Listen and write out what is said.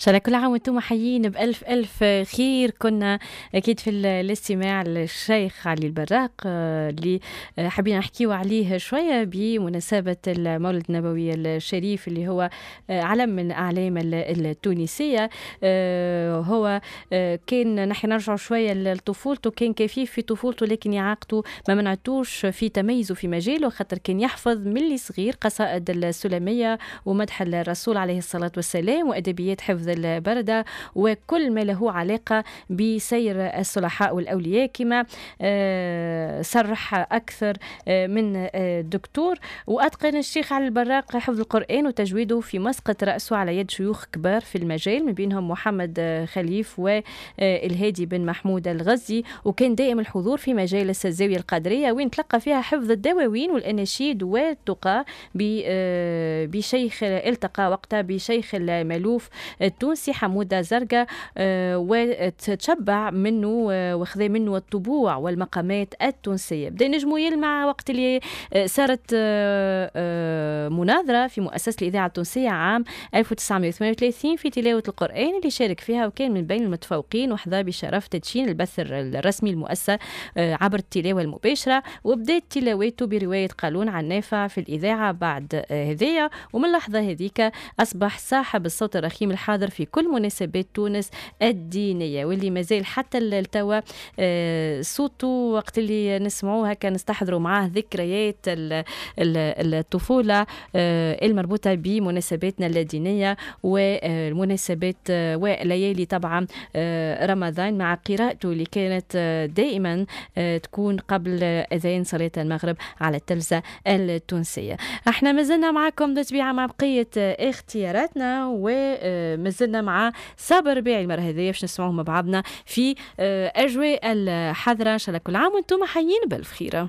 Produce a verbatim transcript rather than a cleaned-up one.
شاء الله كل عام وانتم حيين بألف ألف خير. كنا أكيد في الاستماع للشيخ علي البراق آه، اللي آه، حابين نحكيو عليه شوية بمناسبة المولد النبوي الشريف اللي هو آه، علم من أعلام التونسية. هو كان نحن نرجع شوية لطفولته، كان كفيف في طفولته لكن إعاقته ما منعتوش في تميزه في مجاله، خاطر كان يحفظ من اللي صغير قصائد السلمية ومدح الرسول عليه الصلاة والسلام وأدبيات حفظ البردة وكل ما له علاقة بسير الصلحاء والأولياء، كما آه، صرح أكثر آه، من آه، دكتور. وأتقن الشيخ علي البراق حفظ القرآن وتجويده في مسقط رأسه على يد شيوخ كبار في المجال، من بينهم محمد خليف والهادي بن محمود الغزي، وكان دائم الحضور في مجالس الزاوية القادرية وين تلقى فيها حفظ الدواوين والأناشيد والتقى بشيخ التقى وقتها بشيخ المالوف التونسي حمودة زرقاء، آه، وتشبع منه آه، وخذ منه الطبوع والمقامات التونسية. بدا نجمو يلمع وقت اللي آه، صارت مناظرة في مؤسسة الإذاعة التونسية عام ألف وتسعمية وثمانية وثلاثين في تلاوة القرآن اللي شارك فيها وكان من بين المتفوقين، وحظى بشرف تدشين البث الرسمي المؤسسة عبر التلاوة المباشرة. وبدات تلاوته برواية قالون عن نافع في الإذاعة بعد هذيا، ومن اللحظة هذيك أصبح صاحب الصوت الرخيم الحاضر في كل مناسبات تونس الدينية، واللي مازال حتى التوا آه، صوته وقت اللي نسمعوه هكا نستحضروا معاه ذكريات الطفولة آه، المربوطة بمناسباتنا الدينية والمناسبات آه، وليالي طبعا رمضان، مع قراءته اللي كانت دائما تكون قبل أذان صلاة المغرب على التلفزة التونسية. احنا مازلنا معكم بالطبيعة مع بقية اختياراتنا، ومازلنا مع صابر رباعي المرة هذه باش نسمعوه مع بعضنا في أجواء الحضرة. إن شاء الله كل عام وانتم حيين بألف خير.